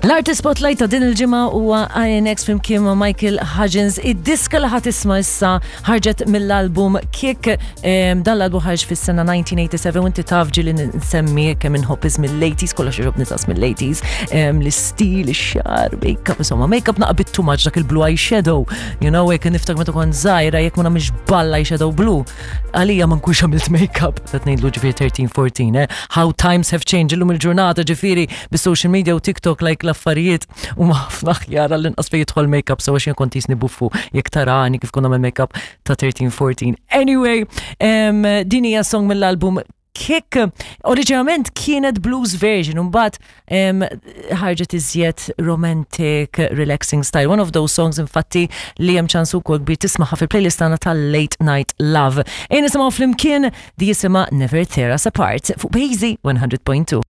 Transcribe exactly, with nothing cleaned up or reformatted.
L-Artist Spotlight ta' din il-ġimgħa huwa I N X flimkien ma' Michael Hudgens. Id-diska li ħa tisma' issa ħarġet mill-album Kick. Em, Dan l-album ħarġ fis-sena elf disa' mija u sebgħa u tmenin u inti taf ġieli nsemmi kemm inħobb mill-eighties, kollox jogħġobni tas mill-eighties, em, l-istil, ix-xagħar, make-up, insomma, make-up naqbit too much, dak il-blue eyeshadow. You know, jekk niftakar meta kont żgħira, jekk ma nagħmilx balla eyeshadow blue, għalija ma nkunx għamilt make-up. Qed ngħidlu ġifieri tlettax, erbatax, eh? How times have changed, illum il-ġurnata ġifieri bis-social media u TikTok, like, l-affarijiet u ma ħafna aħjar għall-inqas fejn jidħol make-up, so għax jien kont jisni buffu jekk tarani kif konna nagħmel make-up ta' tlettax, erbatax. Anyway, um, din hija song mill-album Kick. Oriġinalment kienet blues version, mbagħad um, ħarġet iżjed romantic, relaxing style. One of those songs, infatti, li hemm ċans ukoll kbir tismaħha fil-playlist tagħna tal-Late Night Love. Ejja nisimgħu flimkien di jisimha Never Tear Us Apart fuq Bejzi one hundred point two.